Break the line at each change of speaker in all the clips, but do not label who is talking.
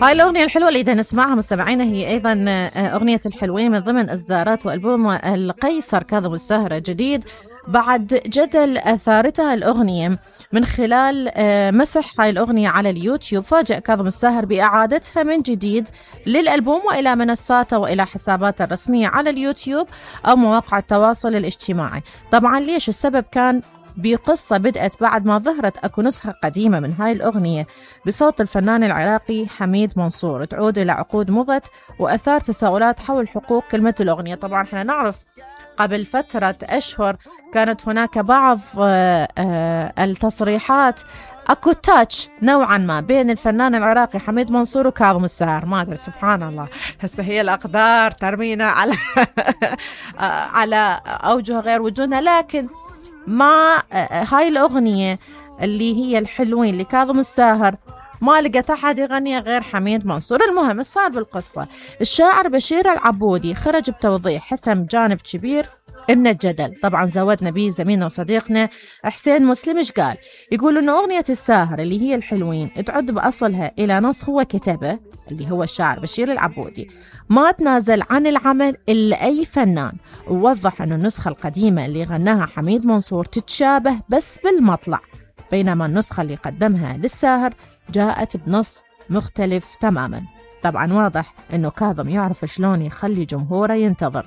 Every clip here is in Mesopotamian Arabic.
هاي الأغنية الحلوة اللي إذا نسمعها مستمعينا هي أيضا أغنية الحلوين من ضمن إصدارات وألبوم القيصر كاظم الساهر جديد. بعد جدل أثارتها الأغنية من خلال مسح هاي الأغنية على اليوتيوب، فاجأ كاظم الساهر بإعادتها من جديد للألبوم وإلى منصاته وإلى حساباته الرسمية على اليوتيوب أو مواقع التواصل الاجتماعي. طبعا ليش؟ السبب كان بقصة بدأت بعد ما ظهرت أكو نسخة قديمة من هاي الأغنية بصوت الفنان العراقي حميد منصور تعود إلى عقود مضت وأثار تساؤلات حول حقوق كلمة الأغنية. طبعا احنا نعرف قبل فترة أشهر كانت هناك بعض التصريحات أكو تاتش نوعا ما بين الفنان العراقي حميد منصور وكاظم الساهر، ما أدري سبحان الله هسه هي الأقدار ترمينا على على أوجه غير وجودنا. لكن ما هاي الأغنية اللي هي الحلوين لكاظم الساهر ما لقت أحد يغني غير حميد منصور. المهم صار بالقصة الشاعر بشير العبودي خرج بتوضيح حسم جانب كبير من الجدل. طبعا زودنا به زميلنا وصديقنا حسين مسلم. ايش قال؟ يقول إنه أغنية الساهر اللي هي الحلوين تعد بأصلها إلى نص هو كتبه اللي هو الشاعر بشير العبودي، ما تنازل عن العمل إلا أي فنان، ووضح أن النسخة القديمة اللي غناها حميد منصور تتشابه بس بالمطلع، بينما النسخة اللي قدمها للساهر جاءت بنص مختلف تماما. طبعا واضح أنه كاظم يعرف شلون يخلي جمهوره ينتظر،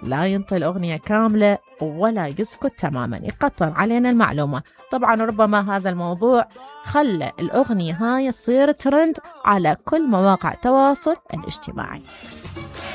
لا ينطي الأغنية كاملة ولا يسكت تماما، يقطر علينا المعلومة. طبعا ربما هذا الموضوع خلى الأغنية هاي تصير ترند على كل مواقع التواصل الاجتماعي.